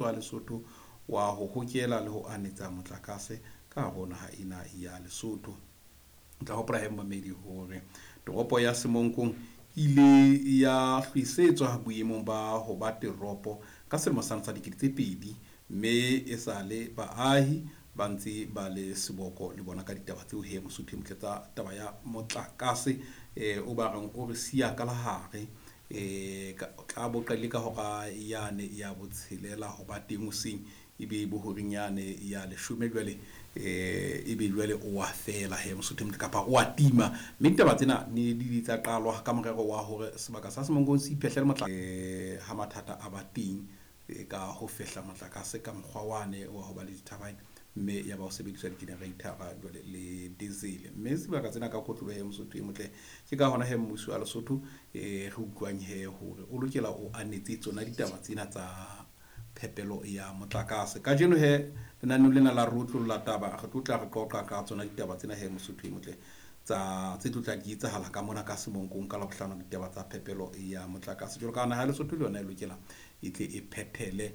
Wa Lesotho wa ho hokela le ho anetsa motlakase ka hare ho naha ena ya Lesotho. O tla hopola he momamedi hore toropo ya Semonkong ile ya hlwisetswa boemong ba ho ba teropo ka selemo sane sa 2000, mme e sale baahi ba ntse ba le seboko le bona ka ditaba tseo he Mosotho e motle tsa taba ya motlakase o ba reng o re siya ka lahare. Tla bo qadile ka hora yane ya botshelela ho ba teng hoseng, ebe bo horeng yane ya leshome jwale ebe jwale o wa fela he Mosotho e motle, kapa o wa tima. Mme ditaba tsena ne di tsa qalwa ka morero wa hore sebaka sa Semonkong se iphehlele motla ha mathata a ba teng ka ho fehla motlakase ka mokgwa wane wa ho ba le dithabine, mme ya ba ho sebediswa di-generator-a jwale le diesel. Mme sebaka tsena ka kotloloho he Mosotho e motle, ke ka hona he mmuso wa Lesotho re utlwang he hore o lokela o anetse tsona ditaba tsena tsa phepelo ya motlakase. Kajeno he lenaneong lena la Rotlolla Taba re tlo tla re qoqa ka tsona ditaba tsena he Mosotho e motle tsa tse tlo tla di etsahala ka mona ka Semonkong ka Labohlano, ditaba tsa phepelo ya motlakase. Jwalo ka naha ya Lesotho le yona e lokela e tle e phethele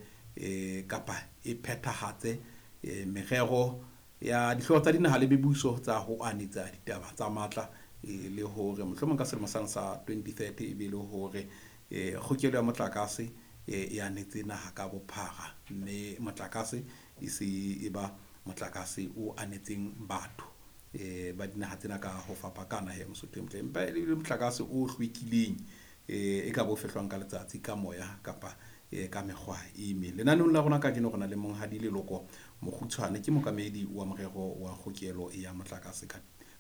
kapa e phethahatse merero ya dihlooho tsa dinaha le mebuso tsa ho anetsa ditaba tsa matla, le hore mohlomong ka selemo sane sa 2030 e be le hore kgokelo ya motlakase e anetse naha ka bophara, mme motlakase e se e ba motlakase o anetseng batho ba dinaha tsena ka ho fapakana he Mosotho e motle, empa e le motlakase o hlwekileng e ka bo fehlwang ka letsatsi, ka moya kapa ka mekgwa e meng. Lenaneong la rona kajeno re na le monghadi Leloko Mokgutshwane, ke mookamedi wa morero wa kgokelo ya motlakase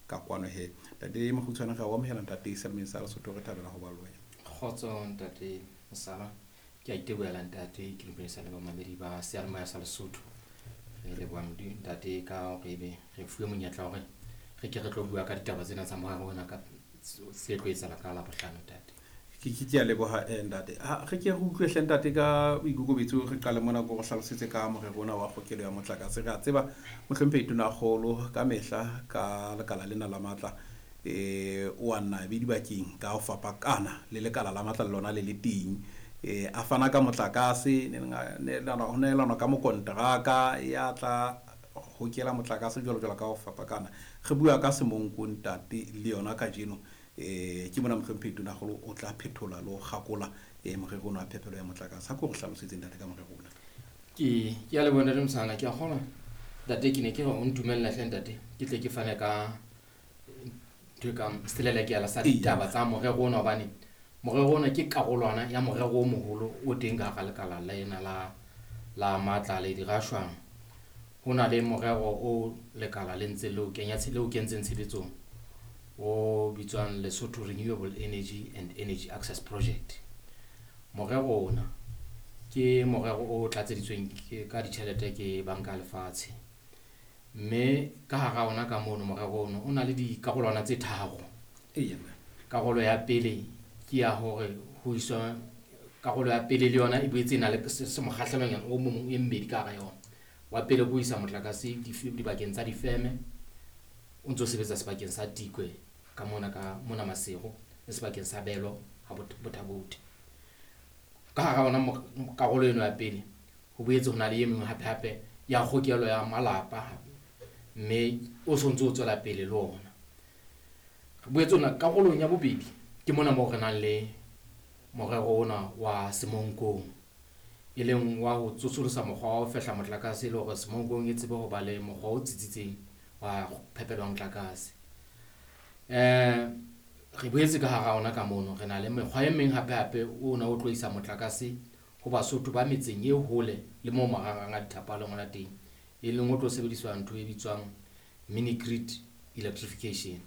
ka kwano he. Ntate Mokgutshwane, re a o amohela ntate Selemeng sa Lesotho, re thabela ho ba le wena. Kgotso ntate Mosala, ke a itebohela ntate, ke dumedisa le bamamedi ba seyalemoya sa Lesotho. Re leboha Modimo ntate ka hore ebe re fuwe monyetla hore re ke re tlo bua ka ditaba tsena tsa morero ona ka se tlo etsahala ka Labohlano ntate. Ke a leboha ntate. Ha re ke re utlwe hle ntate ka boikokobetso, re qale mona ko re hlalosetse ka morero ona wa kgokelo ya motlakase. Re a tseba mohlomphehi Tonakgolo ka mehla ka lekala lena la matla o a nna be dibakeng ka ho fapakana le lekala la matla le lona le le teng, a fana ka motlakase, ho nehelanwa ka mokonteraka ya tla hokela motlakase jwalo jwalo ka ho fapakana. Re bua ka Semonko ntate le yona kajeno, ke mona mohlomphehi Tonakgolo o tla phethola le ho kgakola morero ona wa phepelo ya motlakase. Ha ko re hlalosetse ntate ka morero ona. Ke a leboha ntate Mosala, ke a kgolwa ntate ke ne ke re o ntumella hle ntate, ke tle ke fane ka ntho e kang selelekela sa ditaba tsa morero ona, hobane morero ona ke karolwana ya morero o moholo o teng ka hara lekala lena la matla le dirashwang. Ho na le morero o lekala le ntse le o kenya le o kentseng tshebetsong o bitswang Lesotho Renewable Energy and Energy Access Project. Morero ona ke morero o tlatseditsweng ka ditjhelete ke Banka ya Lefatshe, mme ka hara ona ka mono morero ono o na le dikarolwana tse tharo. Karolo ya pele ke ya hore ho iswa karolo ya pele le yona e boetse e na le mokgahlelonyana o mong e mmedi ka hara yona. Wa pele ke ho isa motlakase dibakeng tsa difeme, o ntso sebetsa sebakeng sa Tikwe ka mona ka mona Maseru le sebakeng sa Belo ha Botha-Bothe. Ka hara ona karolo eno ya pele ho boetse ho na le e mengwe hape hape ya kgokelo ya malapa, mme o sontso o tswela pele le ona. Re boetse ona karolong ya bobedi ke mona moo re nang le morero ona wa Semonkong, e leng wa ho tsosolosa mokgwa wa ho fehla motlakase le hore Semonkong e tsebe ho ba le mokgwa o tsitsitseng wa phepelo ya motlakase. Re boetse ka hara ona ka mono re na le mekgwa e meng hape hape ona o tlo isa motlakase ho Basotho ba metseng e hole le moo marangrang a dithapo a leng hona teng, e leng o tlo sebediswa ntho e bitswang mini grid electrification.